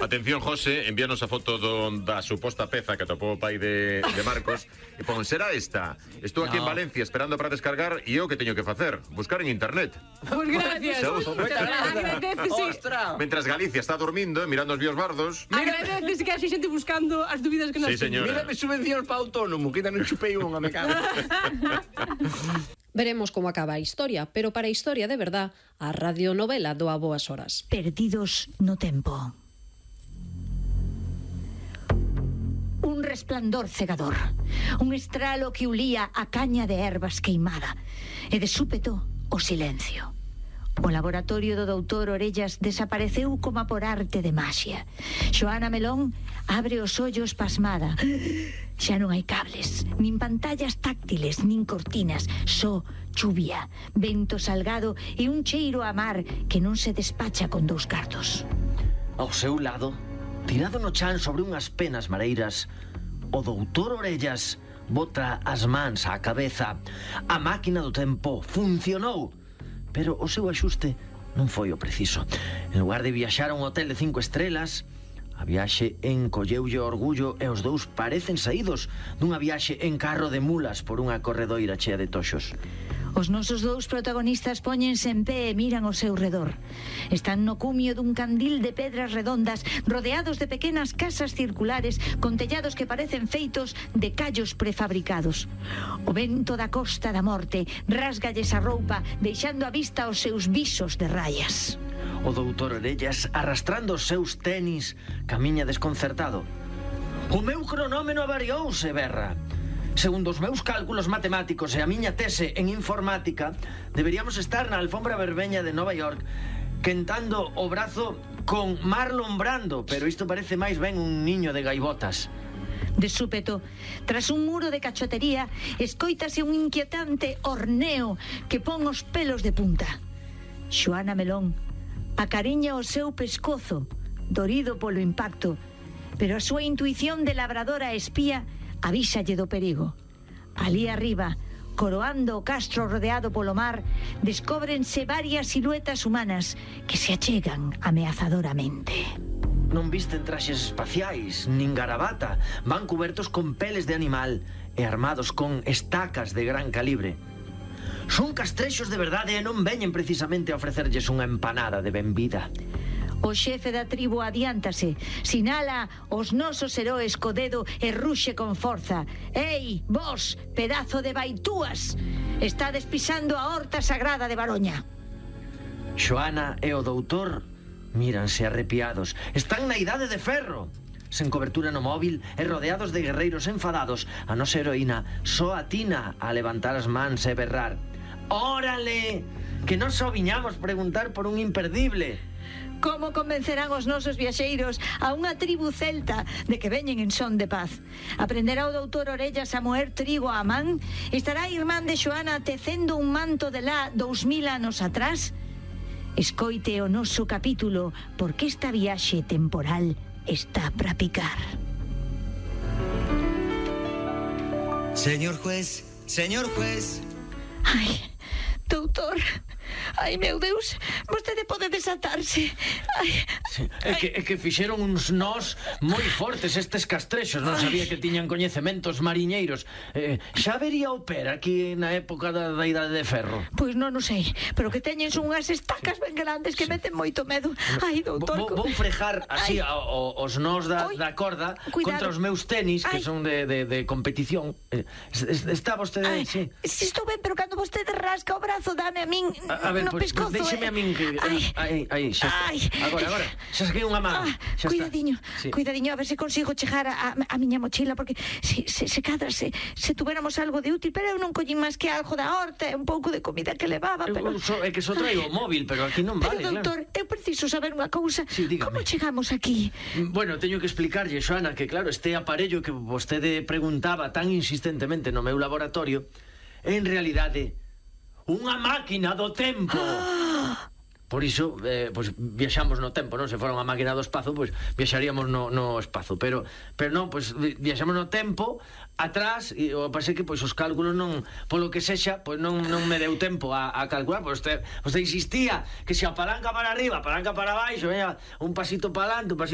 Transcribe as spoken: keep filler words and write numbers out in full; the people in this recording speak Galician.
Atención, José, envíanos a foto do, da suposta peza que atopou o pai de, de Marcos e pon, será esta? Estou aquí no. en Valencia esperando para descargar e eu que teño que facer? Buscar en internet. Pues gracias. Ostras. Mentras Galicia está dormindo, mirando os víos bardos. Agradece que hai xente buscando as dúbidas que nos sí, señora. Mírame subvencións para autónomo, que ainda non chupei unha, me cago. Veremos como acaba a historia, pero para a historia de verdad, a radionovela do A Boas Horas. Perdidos no tempo. Un resplandor cegador, un estralo que ulía a caña de ervas queimada, e de súpeto o silencio. O laboratorio do doutor Orellas desapareceu como por arte de maxia. Xoana Melón abre os ollos pasmada. Xa non hai cables, nin pantallas táctiles, nin cortinas, só chuvia, vento salgado e un cheiro a mar que non se despacha con dous cartos. Ao seu lado, tirado no chan sobre unhas penas mareiras, o doutor Orellas bota as mans á cabeza. A máquina do tempo funcionou, pero o seu axuste non foi o preciso. En lugar de viaxar a un hotel de cinco estrelas, a viaxe encolleulle o orgullo e os dous parecen saídos dunha viaxe en carro de mulas por unha corredoira chea de toxos. Os nosos dous protagonistas póñense en pé e miran ao seu redor. Están no cumio dun candil de pedras redondas, rodeados de pequenas casas circulares con tellados que parecen feitos de callos prefabricados. O vento da Costa da Morte rásgalles a roupa, deixando a vista os seus visos de rayas. O doutor Orellas, arrastrando os seus tenis, camiña desconcertado. O meu cronómeno avariouse, berra. Segundo os meus cálculos matemáticos e a miña tese en informática, deberíamos estar na alfombra verbeña de Nova York quentando o brazo con Marlon Brando, pero isto parece máis ben un niño de gaivotas. De súpeto, tras un muro de cachotería, escoítase un inquietante horneo que pon os pelos de punta. Xoana Melón acariña o seu pescozo, dorido polo impacto, pero a súa intuición de labradora espía avísalle do perigo. Alí arriba, coroando o castro rodeado polo mar, descóbrense varias siluetas humanas que se achegan ameazadoramente. Non visten traxes espaciais, nin garabata. Van cubertos con peles de animal e armados con estacas de gran calibre. Son castrexos de verdade e non veñen precisamente a ofrecerlles unha empanada de benvida. O xefe da tribu adiántase, sinala os nosos heróis co dedo e ruxe con forza. Ei, vos, pedazo de baitúas! Estades pisando a horta sagrada de Baroña. Xoana e o doutor míranse arrepiados. Están na idade de ferro, sen cobertura no móvil e rodeados de guerreiros enfadados. A nosa heroína só atina a levantar as mans e berrar: órale, que non só viñamos preguntar por un imperdible. Como convencerán os nosos viaxeiros a unha tribu celta de que veñen en son de paz? Aprenderá o doutor Orellas a moer trigo á man? Estará a irmán de Xoana tecendo un manto de lá dous mil anos atrás? Escoite o noso capítulo, porque esta viaxe temporal está para picar. Señor juez, señor juez. Ai, doutor... Ai, meu Deus, vostede pode desatarse. Ai, sí, é, que, é que fixeron uns nós moi fortes estes castrexos. Non sabía que tiñan coñecementos mariñeiros. eh, Xa vería o per aquí na época da, da idade de ferro? Pois non o sei, pero que teñen son unhas estacas ben grandes que sí. meten moito medo. Ai, doutor... Vou, vou frejar así a, o, os nós da, da corda. Cuidado. Contra os meus tenis, que Ai. son de, de, de competición. eh, Está vostede... Ai, sí. Si estou ben, pero cando vostede rasca o brazo, dame a min... A, a ver, no pues, pescozo, pues déxeme eh. a min que... Ai, aí, aí, xa está. Ai. Agora, agora, xa saquei unha man. Ah, xa cuidadiño, sí. cuidadiño, a ver se consigo chegar a, a, a miña mochila, porque se, se, se cadra, se, se tuveramos algo de útil, pero eu non collín máis que algo da horta e un pouco de comida que levaba, pero... Eu, so, é que só traigo o móvil, pero aquí non vale, pero, doutor, claro. eu preciso saber unha cousa. Sí, dígame. Como chegamos aquí? Bueno, teño que explicarlle, Xoana, que claro, este aparello que vostede preguntaba tan insistentemente no meu laboratorio, en realidade unha máquina do tempo. Ah. Por iso, eh, pues, viaxamos no tempo, non? Se fora unha máquina do espazo, pues, viaxaríamos no, no espazo. Pero, pero non, pues, viaxamos no tempo, atrás, e o pasei que, pois, os cálculos non, polo que sexa, pois, non, non me deu tempo a, a calcular. Pois, usted, usted insistía que se a palanca para arriba, a palanca para baixo, veña, un pasito para adelante, un pasito